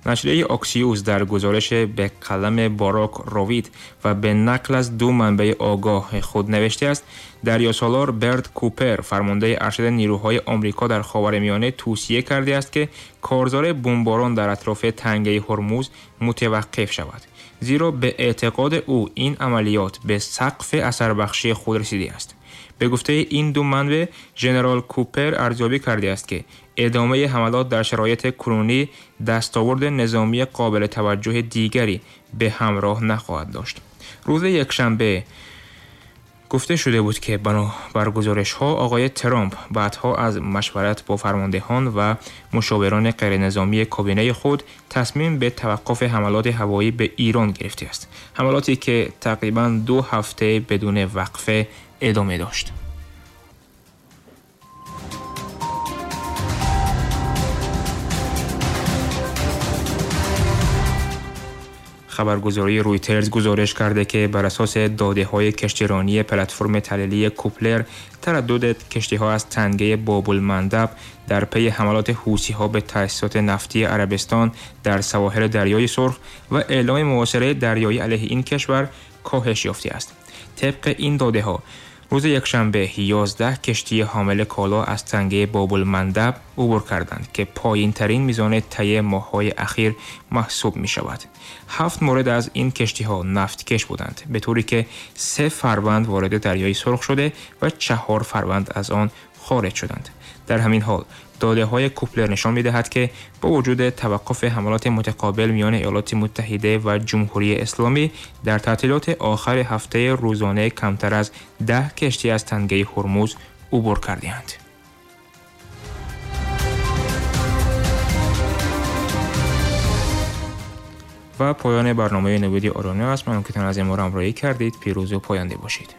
نشریه آکسیوس در گزارش به قلم باراک رویت و به نقل از دو منبع آگاه خود نوشته است: دریاسالار برد کوپر، فرمانده ارشد نیروهای آمریکا در خاورمیانه، توصیه کرده است که کارزار بمباران در اطراف تنگه هرمز متوقف شود، زیرا به اعتقاد او این عملیات به سقف اثربخشی خود رسیده است. به گفته این دو منبع، ژنرال کوپر ارزیابی کرده است که ادامه حملات در شرایط کنونی دستاورد نظامی قابل توجه دیگری به همراه نخواهد داشت. روز یکشنبه گفته شده بود که بنا بر گزارش ها آقای ترامپ بعدها از مشورت با فرماندهان و مشاوران غیرنظامی کابینه خود تصمیم به توقف حملات هوایی به ایران گرفته است. حملاتی که تقریبا 2 هفته بدون وقفه ادامه داشت. خبرگزاری رویترز گزارش کرده که بر اساس داده های کشتیرانی پلتفرم تحلیلی کوپلر، تردد کشتی ها از تنگه باب المندب در پی حملات حوثی ها به تأسیسات نفتی عربستان در سواحل دریای سرخ و اعلام محاصره دریایی علیه این کشور کاهش یافته است. طبق این داده ها، روز یکشنبه 11 کشتی حامل کالا از تنگه باب المندب عبور کردند که پایین ترین میزان طی ماه‌های اخیر محسوب می شود. هفت مورد از این کشتی ها نفتکش بودند، به طوری که سه فروند وارد دریای سرخ شده و چهار فروند از آن خارج شدند. در همین حال، داده های کوپلر نشان می دهد که با وجود توقف حملات متقابل میان ایالات متحده و جمهوری اسلامی، در تعطیلات آخر هفته روزانه کمتر از 10 کشتی از تنگه هرمز عبور کرده‌اند. و پایان برنامه نوید آرانه است. ممنون که تا این لحظه ما را همراهی کردید. پیروز و پاینده باشید.